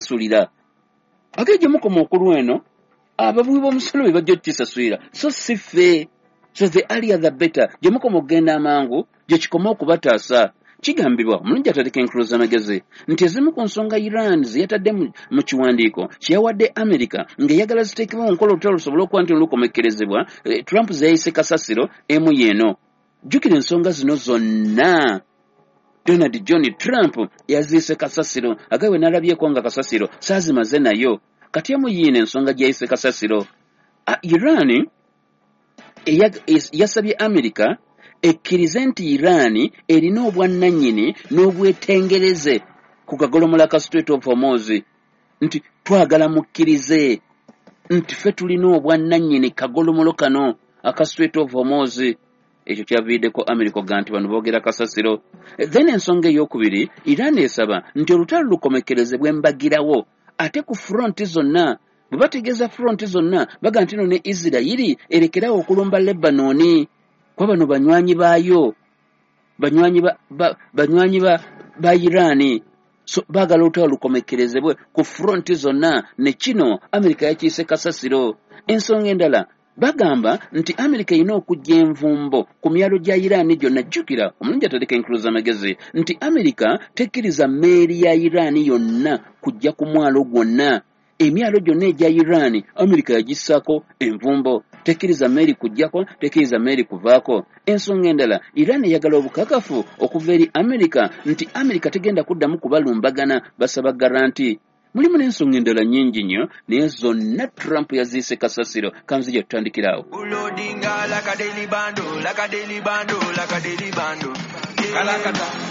okukisasulira. Ate gye mukoma okulwa eno, abawi b'omusolo be bajja okukisasulira, so si ffe. So the earlier the better. Gye mukoma okugenda amangu, gye kikoma okubataasa. Kigambibwa omulungi ataleka enkulu z'amagezi nti ezimu ku nsonga Iran ze yatadde mu kiwandiiko kye yawadde America ng'eyagala ziteekebwe mu nkola olutalo lusobole okuba nti lukomekkerezebwa, Trump ze yayise kasasiro, emu y'eno. Jjukira ensonga zino zonna Donald John Trump yaziise kasasiro, agawe n'alabyeko nga kasasiro saazimaze nayo. Kati emu yiino ensonga gye yayise kasasiro. Iran yasabye America ekkirize nti Iran erina obwannannyini n'obwetengereze ku kagolomola ka Strait of Hormuz, nti twagala mukkirize nti ffe tulina obwannannyini kagolomolo kano aka Strait of Hormuz. Ekyo kyaviiriddeko America okugaa nti bano boogera kasasiro. Then ensonga eyokubiri, Iran esaba nti olutalo lukomekkerezebwe mbagirawo, ate ku front zonna. Bwe bategeeza front zonna, baga nti no ne Isirayiri erekerawo okulumba Lebanoni, kuba bano banywanyi baayo, banywanyi ba Iran. So baagala olutalo lukomekkerezebwe ku front zonna, ne kino Amerika yakiise kasasiro. Ensonga endala, bagamba nti Amerika erina okujja envumbo ku myalo gya Iran gyonna. Jjukira omulungi ataleka enkulu z'amagezi nti Amerika tekkiriza mmeeri ya Iran yonna kujja ku mwalo gwonna. Emyalo gyonna egya Iran Amerika yagissaako envumbo, tekkiriza mmeeri kujjako, tekkiriza mmeeri kuvaako. Ensonga endala, Iran eyagala obukakafu okuva eri Amerika nti Amerika tegenda kuddamu kubalumbagana, basaba guarantee. Mulimu n'ensonga endala nnyingi nnyo, naye zonna Trump yaziise kasasiro. Kanzija tutandikiraawo. Loading like a daily bando, like a daily bando, like a daily bando. Kalakata.